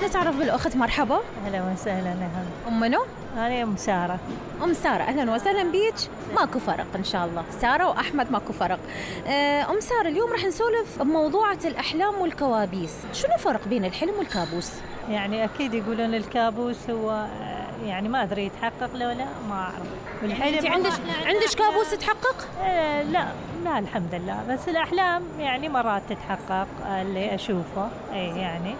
نتعرف بالأخت. مرحبا. أهلا وسهلا. أم منو؟ أنا أم سارة. أم سارة، أهلا وسهلا بيك. ماكو فرق إن شاء الله، سارة وأحمد ماكو فرق. أم سارة، اليوم رح نسولف بموضوعة الأحلام والكوابيس. شنو فرق بين الحلم والكابوس؟ يعني أكيد يقولون الكابوس هو يعني ما أدري يتحقق له ولا ما أعرف. يعني أنت عندك كابوس تحقق؟ لا الحمد لله، بس الأحلام يعني مرات تتحقق اللي أشوفه يعني،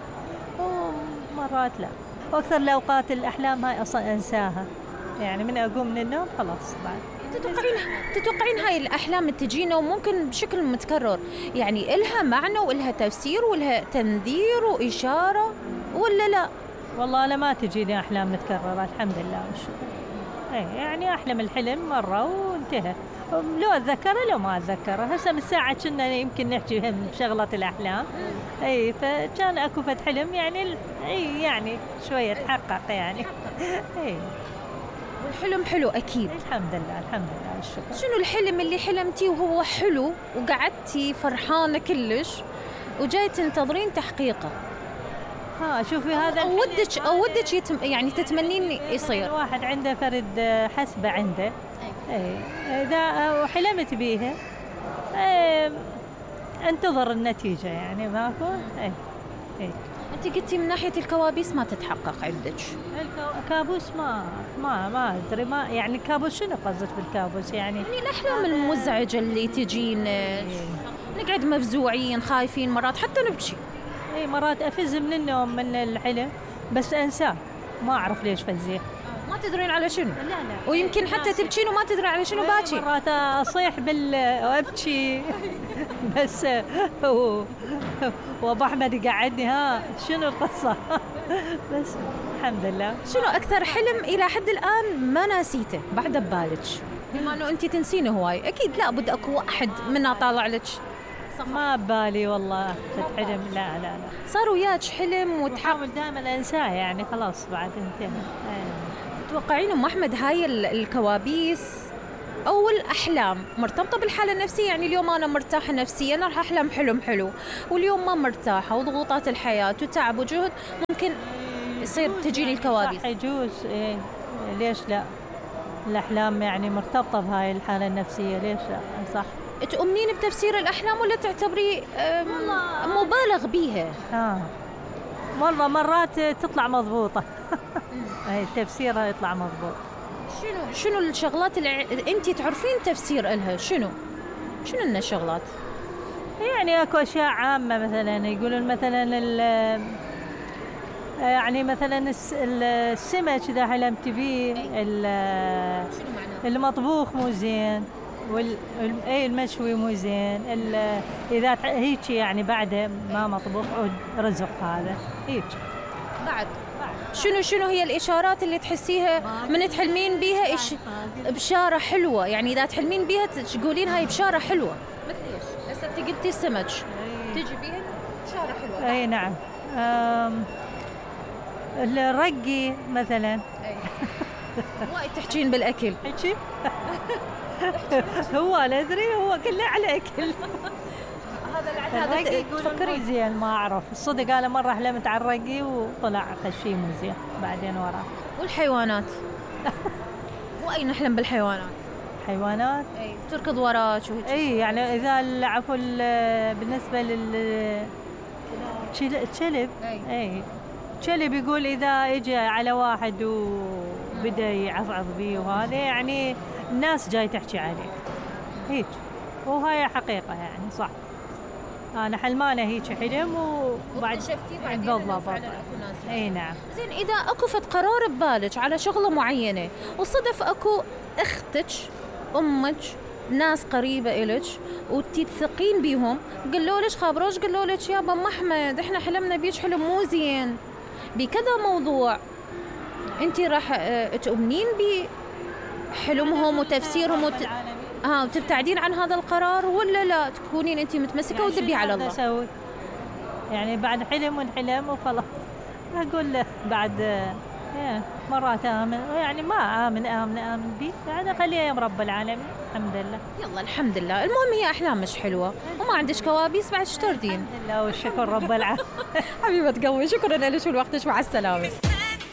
ومرات لا. وأكثر الأوقات الأحلام هاي أصلا أنساها، يعني من أقوم من النوم خلاص بعد. تتوقعين هاي الأحلام تجينا وممكن بشكل متكرر، يعني إلها معنى وإلها تفسير وإلها تنذير وإشارة ولا لا؟ والله أنا ما تجيني أحلام متكررة الحمد لله والشكر. يعني أحلم الحلم مرة وانتهى، لو أتذكره لو ما أتذكره. هسه من ساعة كنا يمكن نحكي بشغلة الأحلام، فكان أكو فد حلم يعني يعني شوية تحقق يعني. والحلم حلو أكيد. الحمد لله الشكر. شنو الحلم اللي حلمتي وهو حلو وقعدتي فرحانة كلش وجاي تنتظرين تحقيقه؟ شوفي هذا ودك يعني تتمنين يصير. واحد عنده فرد حسبة عنده، إذا وحلمت بيها انتظر النتيجة يعني ماكو. أنت قلتي من ناحية الكوابيس ما تتحقق عندك. الكابوس ما أدري، ما يعني الكابوس شنو قصدك بالكابوس يعني الأحلام المزعجة اللي تجينا، نقعد مفزوعين خايفين، مرات حتى نبكي. مرات أفز من النوم من الحلم بس أنساه، ما أعرف ليش فزيه. ما تدرين على شنو؟ لا. ويمكن حتى تبكين وما تدري على شنو باكي. مرات أصيح وأبكي بس وأبو أحمد يقعدني شنو القصة. بس الحمد لله. شنو أكثر حلم إلى حد الآن ما ناسيته بعد ببالك؟ بما أنه أنت تنسين هواي، أكيد لا بد أكو واحد منا طالع لك. ما ببالي والله حلم. لا صار وياك حلم وتحاول دائما انساه يعني خلاص بعد انتهى. تتوقعين ام احمد هاي الكوابيس او الاحلام مرتبطه بالحاله النفسيه؟ يعني اليوم انا مرتاحه نفسيا راح احلم حلم حلو، واليوم ما مرتاحه وضغوطات الحياه وتعب وجهد ممكن يصير تجيني الكوابيس. صح يجوز. ليش لا؟ الاحلام يعني مرتبطه بهاي الحاله النفسيه، ليش لا؟ صح. تؤمنين بتفسير الأحلام ولا تعتبري مبالغ بيها؟ والله مرات تطلع مضبوطة. تفسيرها يطلع مضبوط. شنو الشغلات اللي أنت تعرفين تفسير إلها؟ شنو لنا الشغلات؟ يعني أكو أشياء عامة، مثلا يقولون مثلا يعني مثلا السمك إذا حلمت بيه المطبوخ مو زين، المشوي مو زين، إذا هيك يعني بعد ما مطبوخ رزق هذا هيك. بعد شنو هي الإشارات اللي تحسيها من تحلمين بيها بشارة حلوة؟ يعني إذا تحلمين بيها تقولين هاي بشارة حلوة. مثل إيش؟ هسه أنت قلتي السمك تجي بيها بشارة حلوة. أي نعم. الرقي مثلا. وايد تحكين بالأكل. حكي. هو لا أدري، هو كله على أكل. هذا تفكري زين ما أعرف الصدق. أنا مرة حلمت على الرقي وطلع خشي مو زين بعدين وراه. والحيوانات؟ وأين نحلم بالحيوانات؟ حيوانات تركض وراك وهيك. يعني إذا عفوا بالنسبة للكلب. كلب يقول إذا إجى على واحد وبدأ يعضعض بيه وهذا يعني الناس جاي تحكي عليه هيك، وهاي حقيقة يعني صح. أنا حلمانة هيك حلم وبعد شفتي بعد بالضبط. نعم. زين، إذا أكو فت قرار ببالك على شغلة معينة وصدف أكو أختك أمك ناس قريبة إلك وتثقين بيهم قالوا لك خابروش قالوا لك يا ام احمد احنا حلمنا بيك حلم مو زين بكذا موضوع، انت راح تؤمنين بحلمهم وتفسيرهم وتبتعدين عن هذا القرار ولا لا تكونين انت متمسكه يعني وتدبي على الله؟ أسوي يعني بعد حلم ونحلم وخلاص اقول له بعد مرات آمن يعني ما آمن بي يعني خليها يا رب العالمين. الحمد لله. يلا الحمد لله، المهم هي أحلام مش حلوة وما عندش كوابيس بعد، شو تردين؟ الحمد لله والشكر رب العالمين. حبيبة قلبي، شكرا لك ولوقتك، مع السلامة.